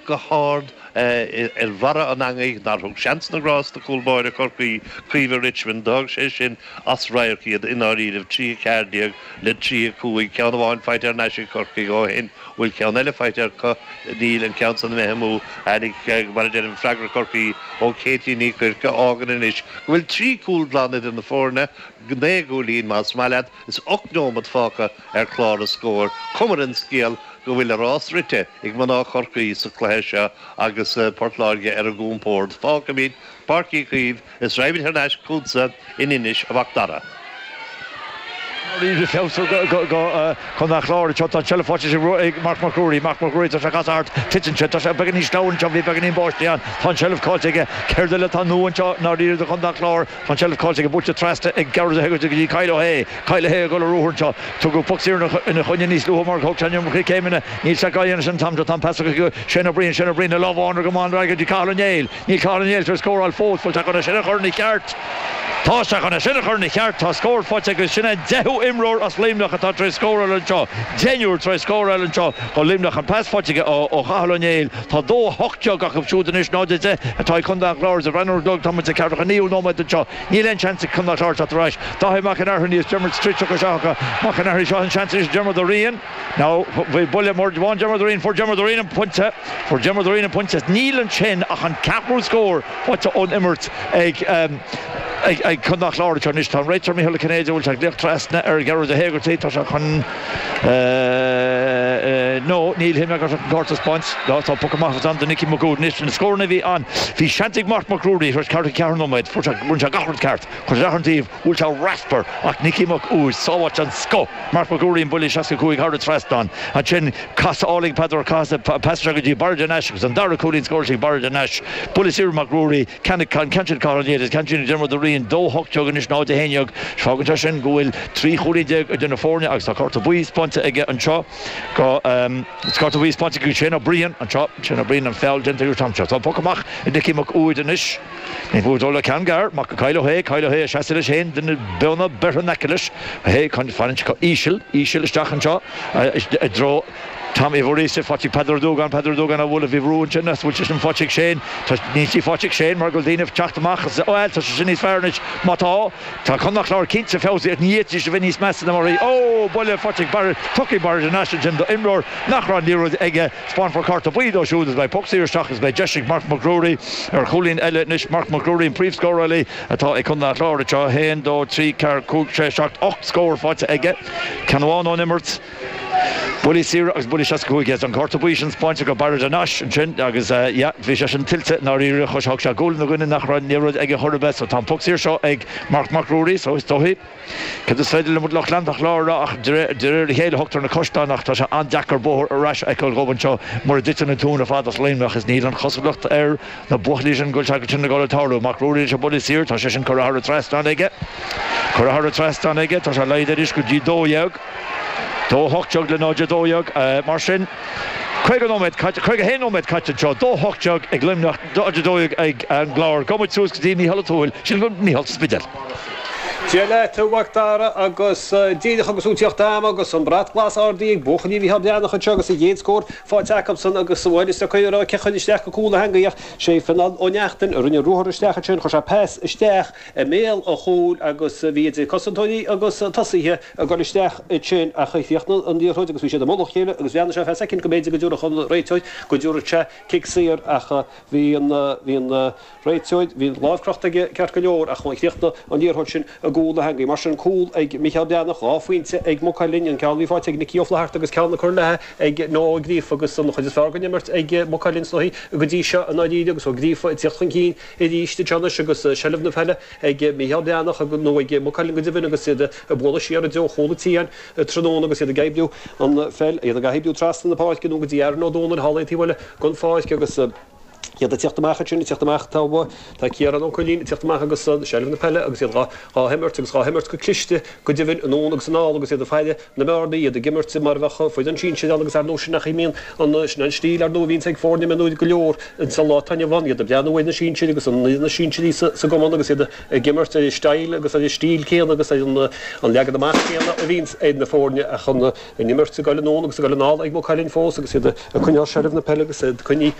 go hard ar bharra an eangaigh nár thug seans na ngrást do chúl báire Chorcaí, Caoimhe Richmond. D'fhág sé sin as radharc iad i ndáiríribh, 3, 14 le 3, 5. Ceann amháin faighte thar n-ais ag Corcaigh ó shin. Bhfuil ceann eile faighte acu? Níl, an ceann san imithe amú. Tháinig, mar a deirim, freagra Chorcaí ó Katie Ní Chuirc a fhágann anois go bhfuil 3 cúl glan idir na foirne, 9 gcúilín más maith leat. Is 8 nóimeat fágtha ar chlár na scór. Cuma ar an scéal go bhfuil a rás rite ag mná Chorcaí sa chluiche seo agus Port Láirge ar a gcompord. Fágfaimid Páirc Uí Chaoimh is raghaimid thar n-ais chugatsa in Inis, a Mhac Dara. Arís feabhas do Chontae an Chláir anseo. Tá an tseilbh faighte ag Marc Mac Ruairí. Marc Mac Ruairí, tá sé ag casadh thart. Titeann sé. Tá sé beagáinín sleamhain anseo. Bhí beagáinín báistí ann. Tá an tseilbh caillte aige. Céard eile atá nua anseo i ndáiríre do Chontae an Chláir? Tá an tseilbh caillte aige, buailte trasna ag Gearóid Ó hÉigeartaigh go dtí Kyle O'Hea. Kyle O'Hea ag dul ar ruathar anseo. Tugadh poc saor ina choinne níos luaithe mar thóg sé an iomarca céimeanna. Níl sé dhá dhéanamh sin an t-am seo. Tá an pas acu Shane O'Brien. Shane O'Brien le lámh amháin ar go maith an fhreagra go dtí Cathal Ó Néill. Níl Cathal Ó Néill tar éis scóráil fós. Bhfuil sé chun é sin a chur ina cheart? Tá sé chun é sin a chur ina cheart. Tá scór faighte aige. Sin é an deichiú imreoir as Luimneach atá tar éis scóráil anseo. Deichniúr tar éis scóráil anseo do Luimneach. An pas faighte aige ó Chathal Ó Néill. Tá 2-18 acu siúd anois, 0-10 atá ag Contae an Chláir. Is ag breathnú ar an gclog, tá muid ag ceathracha naoú nóiméad anseo. Níl aon seans ag Contae an Chláir teacht ar ais. Dáithí Mac an Airchinnigh is Diarmuid Stritch tugtha isteach acu. Mac an Airchinnigh, seo an seans anois ag Diarmuid Ó Riain. Now, bhí buille mór bhain Diarmuid Ó Riain, fuair Diarmuid Ó Riain an pointe. Fuair Diarmuid Ó Riain an pointe. Níl ansin ach an ceathrú scór faighte ón imirt ag ag Contae an Chláir anseo anois. Tá an réiteoir Mícheál Ó Cinnéide, bhfuil sé ag glaoch trasna ar Ghearóid Ó hÉigeartaigh, tá sé chun. No, níl, shíl mé go raibh sé chun cárta a 'speáint. No, tá poc amach ann do Nicky Mac Uaid anois. Na scóranna a bhí ann, bhí seans ag Marc Mac Ruairí tar éis 44 nóiméad, fuair sé, rinne sé gach rud ceart, chuir sé isteach ar an taobh, bhuail sé raspar ach Nicky Mac Uaid, sábháilte den scoth, Marc Mac Ruairí an buille 65 thar an trasnán. Ansin, casadh álainn Peadar Ó Cathasaigh, pas isteach go dtí Barra de Nash agus an dara cúilín scóráilte ag Barra de Nash. Buille saor Mac Ruairí. Ceann sin Cathal Ó Néill agus ceann sin Diarmuid Ó Riain, 2, 18 anois, 0, 11. Fágann sé sin go bhfuil 13 chúilín idir na foirne agus tá cárta buí 'speánta aige anseo go cárta buí 'speánta go Shane O'Brien anseo. Shane O'Brien an feall déanta aige an t-am seo. Tá an poc amach ag Nicky Mac Uaid anois. Ní bhfuair dul le ceann gearr. Amach go Kyle O'Hea. Kyle O'Hea ag seasamh leis féin, duine beonna beirthe in aice leis. O'Hea fanann sé íseal, íseal isteach anseo i dtreo. Tom Uí Mhuiríosa, faighte ag Peadar Ó Dúgáin, Peadar Ó Dúgáin á bhualadh, bhí brú ansin is bhfuil sé sin faighte ag Shane, tá, níl sí faighte ag Shane mar go bhfuil daoine ag teacht amach is, bhuel, tá sé sin níos fearr anois, má tá, tá Contae an Chláir cinnte feabhsaithe ach ní fhéadfaidís a bheith níos measa ná mar a bhí, ó, buille faighte ag Barrett, tugtha ag Barrett Nash ansin do imreoir nach raibh an liathróid aige, 'speánfar cárta buí dó siúd is beidh poc saor isteach is beidh deis ag Marc Mac Ruairí ar chúilín eile anois, Marc Mac Ruairí an príomhscórálaí atá ag Contae an Chláir anseo, 1, 2, 3, 4, 5, 6, 7, 8 scór faighte aige, ceann amháin ón imirt. Buillí saora agus buillí 65 Yes, an cárta buí sin 'speáinte go Barra de Nash ansin agus yeah, bhí sé sin tuillte i ndáiríre. Thug sé gualainn do dhuine nach raibh liathróid aige chor ar bith so tá an poc saor seo ag Marc Mac Ruairí so is dóichí céard is féidir le lucht leanta an Chláir a rá ach de réir a chéile thugtar na caisleáin ach tá sé an-deacair bóthar ar ais a fheiceáil dhóibh anseo mura dtiteann an tóin ar fad as Luimneach is níl an chosúlacht ar na buachaillí sin go bhfuil sé sin ag dul ag tarlú. Mac Ruairí leis an buille saor, tá sé sin curtha thar an trasnán aige. Curtha thar an trasnán aige, tá sé laghdaithe arís go dtí 12. 2, 18 le 0, 12. Mar sin, 50 nóiméad caite, 51 nóiméad caite anseo, 2, 18 ag Luimneach, 0, 12 ag an gClár. Gabhfaidh muid suas go dtí Mícheál Ó Tuathail, sin go Mícheál sa Spidéal. Dia leat, a Mhac Dara, agus díreach agus tú ag tíocht a'm agus an brat glas ardaithe ag buachaillí Mhícheál Breathnach anseo agus a gcéad scór faighte acusan agus bhuel is deacair a rá cé chuir isteach go cúl na heangaí ach sé Fionnán Ó Neachtain a rinne ruathar isteach ansin, chuir sé pas isteach i mbéal an chúil agus bhí idir cosantóirí agus tosaithe ag dul isteach ansin ach chríochnaigh an liathróid agus bhí siad i mullach a chéile agus bhreathnaigh sé ar feadh soicind go mb'fhéidir go dtabharfadh an réiteoir go dtabharfadh sé cic saor ach bhí an bhí an réiteoir bhí an lámh crochta aige ceart go leor ach chríochnaigh an liathróid sin i gcúl na heangaí. Mar sin cúl ag Micheál Breathnach, 2 phointe ag Maigh Cuilinn, an ceann a bhí faighte ag Nicky Ó Flatharta agus ceann curtha léi ag Noah Ó Gríofa agus an chuid is fearr den imirt ag Maigh Cuilinn is dóichí go dtí seo i ndáiríre agus Ó Gríofa ag tíocht chun cinn arís anseo anois agus seilbh na peile ag Mícheál Breathnach nó ag Maigh Cuilinn go deimhin agus iad ag bualadh siar i dtreo chúl an tí tráthnóna agus iad ag oibriú an pheil, iad ag oibriú trasna na páirce nó go dtí Aaron Ó Dónaill thall ar an taobh eile den pháirc agus iad ag tíocht amach ansin, ag tíocht amach tá tá Ciarán Ó Cuilinn ag tíocht amach agus seilbh na peile agus iad dhá himirt agus dhá himirt go cliste go deimhin anonn agus anall agus iad ag faire na mbearnaí, iad ag imirt mar a bheadh foireann sinsir ann agus ar ndóigh sin a mbíonn an, sin an stíl ar ndóigh a bhíonns ag foirne mionúir go leor ins an lá atá inniu ann, iad ag breathnú ar na sinsir agus an, na sinsirí sa gcumann agus iad ag imirt ar an style agus ar an stíl céanna agus ar an an leagan amach céanna a bhíonns ag na foirne ach an imirt ag dul anonn agus ag dul anall ag Maigh Cuilinn fós agus iad ag coinneáil seilbh na peile agus iad coinnithe.